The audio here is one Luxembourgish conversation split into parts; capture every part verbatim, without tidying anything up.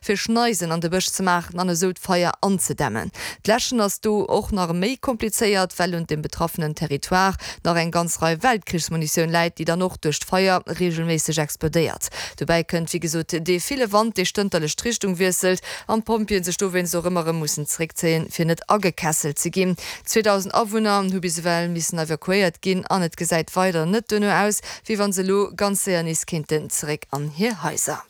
fir Schneisen an de Bësch ze maachen an esou d'Feier anzedämmen. D'Läschen ass do och nach méi komplizéiert, well un dem betraffenen Territoire nach eng ganz Rei Weltkrichsmunitioun läit, déi dann och duerch d'Feier reegelméisseg explodéiert. Dobäi kënnt wéi gesot dee ville Wand, dee stënterlech d'Richtung wiesselt an d'Pompjeeën sech dowéinst och ëmmer erëm mussen zeréckzéien, fir net agekesselt ze ginn. Zweedausend Awunner hu bis ewell missen evakuéiert ginn an et gesäit weider net duerno aus, wéi wann se elo ganz séier nees kéinten zeréck an hir Haiser.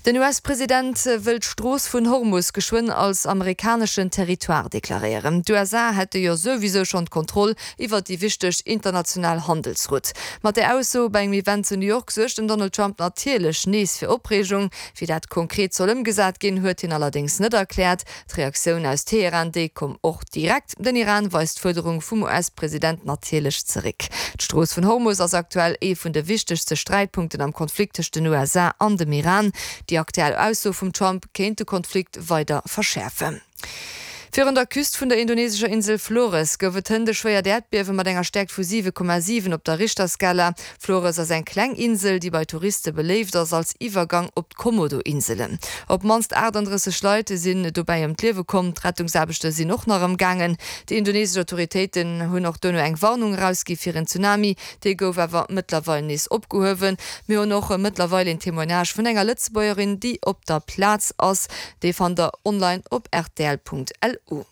Den U S-President wëll d'Strooss vun Hormus geschwënn als amerikaneschen Territoire deklaréieren. D'U S A hätte jo souwisou schonn d'Kontroll iwwer déi wichteg international Handelsroute. Mat där Ausso bei engem Event zu New York suergt den Donald Trump natierlech nees fir Opreegung. Wéi dat konkret soll ëmgesat ginn, huet hien allerdéngs net erkläert. D'Reaktioun aus Teheran, déi koum och direkt. Den Iran weist d'Fuerderung vum U S-President natierlech zeréck. D'Strooss vun Hormus ass aktuell ee vun de wichtegste Sträitpunkten am Konflikt tëscht den U S A an dem Iran. Déi aktuell Ausso vum Trump kéint de Konflikt weider verschäerfen. Virun der Küst vun der indonesescher Insel Flores gouf et hënt e schwéiert Äerdbiewe mat enger Stäerkt vu siwe Komma siwen op der Richterskala. Flores ass eng kleng Insel, déi bei Touriste beléift ass als Iwwergang op d'Komodo-Inselen. Op d'mannst achtandrësseg Leit sinn dobäi ëm d'Liewe komm, d'Rettungsaarbechte sinn och nach am gaangen. Déi indonesesch Autoritéiten hunn och duerno eng Warnung erausgi fir en Tsunami, déi gouf awer mëttlerweil nees opgehuewen. Mir hunn och mëttlerweil een Témoignage vun enger Lëtzebuergerin, déi op der Plaz ass. Dee fannt der online op rtl Punkt L U.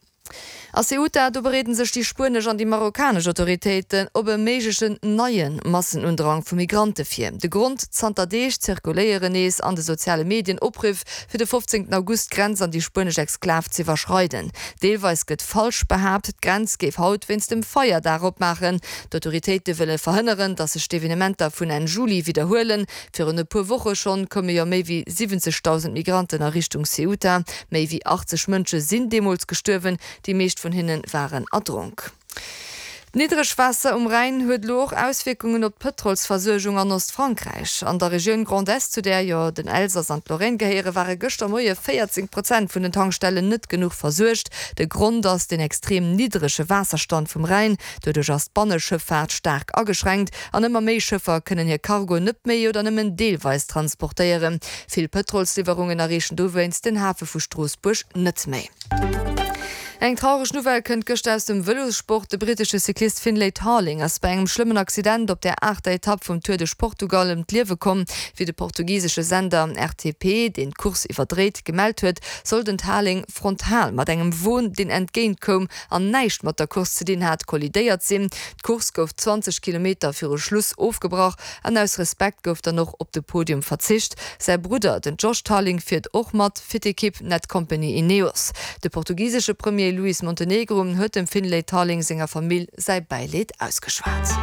A Ceuta, do bereeden sech déi spuenesch an déi marokkanesch Autoritéiten op e méiglechen neie Massenundrang vu Migrante vir. De Grond, Zanter Deeg zirkuléieren nees an de soziale Medien Opriff, fir de fofzéngten August d'Grenz an déi spuenesch Exklav z'iwwerschreiden. Deelweis gëtt falsch behaapt, d'Grenz géif haut wéinst dem Feierdag opmaachen. D'Autoritéite wëlle verhënneren, datt sech d'Evenementer vun Enn Juli widderhuelen. Virun e puer Woche schonn koume jo méi wéi siwwenzegdausend Migranten a Richtung Ceuta. Méi wéi achtzeg Mënsche sinn deemools gestuerwen. Déi meescht vun hinne waren erdronk. D'Niddregwaasser um Rhäin huet elo och Auswierkungen op d'Pëtrolsversuergung an Ostfrankräich. An der Regioun Grand Est, zu där jo den Elsass an d'Lorraine gehéieren, ware gëschter Moie véierzéng Prozent vun den Tankstellen net genuch versuergt. De Grond ass den extrem niddrege Waasserstand vum Rhäin. Doduerch ass d'Banneschëffaart staark ageschränkt an ëmmer méi Schëffer kënnen hir Cargo net méi oder nëmmen deelweis transportéieren. Vill Pëtrolsliwwerungen erreechen dowéinst den Hafe vu Stroossbuerg net méi. Eng traureg Nouvelle kënnt gëschter aus dem Vëlossport, De brittesche Cyclist Finlay Tarling ass bei engem schlëmmen Accident op der aachter Etapp vum Tour de Portugal ëm d'Liewe komm. Wéi de portugisesche Sender R T P, deen d'Course iwwerdréit, gemellt huet, soll den Tarling frontal mat engem Won, deen entgéint koum an näischt mat der Course ze dinn hat, kollidéiert sinn. D'Course gouf zwanzeg Kilometer viru Schluss ofgebrach an aus Respekt gouf dann och op de Podium verzicht. Säi Brudder, den Josh Tarling, fiert och mat fir d'Ekipp Netcompany Ineos. De portugisesche Premier Luís Montenegro huet dem Finlay Tarling senger Famill säi Bäileed ausgeschwat.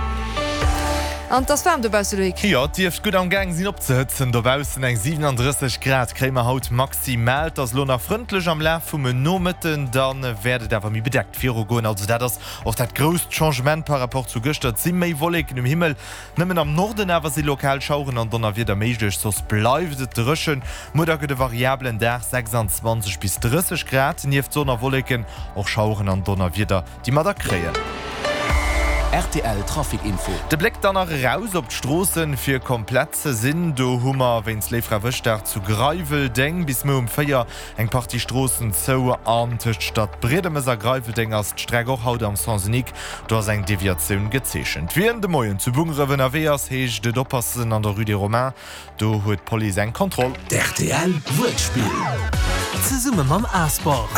An et ass waarm dobausse, Loïc. Jo, et dierft gutt am Gaang sinn opzehëtzen dobaussen. Eng siwenandrësseg Grad kréie mer haut maximal. Et ass elo nach frëndlech, am Laf vum Nomëtten da wäert et awer méi bedeckt virugoen. Also dat ass och dat grousst Changement par rapport zu gëschter. Et si méi Wolleken um Himmel, nëmmen am Norden awer si lokal Schaueren an Donnerwieder méiglech, soss bleift et dréchen. Muer da gëtt e variabelen Dag, sechsanzwanzeg bis drësseg Grad, nieft Sonn a Wolleken och Schaueren an Donnerwieder, déi mer da kréien. R T L Trafic Info. De Bléck dann nach eraus op d'Stroossen, fir komplett ze sinn. Do hu mer wéinst Léiffrawëschdag zu Greiweldeng bis muer um véier eng Partie Stroossen zou an tëscht Stadbriedemes a Greiweldeng ass d'Streck och haut am Sens unique. Do ass eng Deviatioun gezeechent. Wien de Moien zu Bungeref ënnerwee ass, heescht et oppassen an der Rue des Romains. Do huet d'Police eng Kontroll. D' R T L Wuertspill. Zesumme mam A-Sport.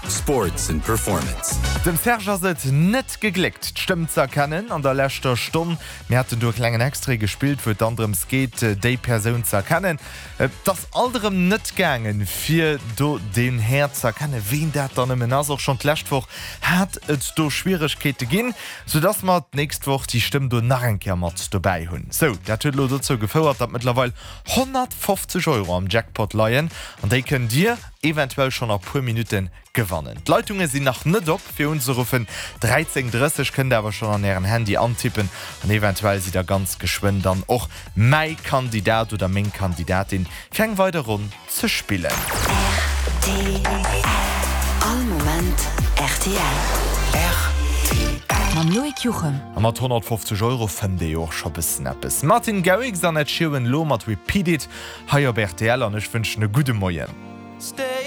Sports and Performance. Dem Serge ass et net gegléckt, d'Stëmm ze erkennen an der leschter Stonn. Mir haten do e klengen Extrait gespillt, wou et dann drëms geet, déi Persoun ze erkennen. Et ass alt erëm net gaangen, fir do den Här ze erkennen, ween dat dann nëmmen ass. Och schonn d'lescht Woch hat et do Schwieregkeete ginn, soudass mer d'nächst Woch déi Stëmm do nach eng Kéier mat dobäi hunn. Sou, dat huet elo dozou gefouert, datt mëttlerweil honnertfofzeg Euro am Jackpot leien an déi kënnt Dir eventuell schonn a puer Minutte gewannen. D'Leitunge sinn nach net op fir unzeruffen. dräizéng drësseg kënnt der awer schonn an ären Handy antippen an eventuell sidd der ganz geschwënn dann och mäi Kandidat oder meng Kandidatin fir eng weider Ronn ze spillen. R T L. All Moment R T L. R T L. Mam Loïc Juchem. A mat honnertfofzeg Euro fënnt ee jo och scho bëssen eppes. Martin Garrix an Ed Sheeran lo mat Repeat It hei op rtl an ech wënschen e gudde Moien.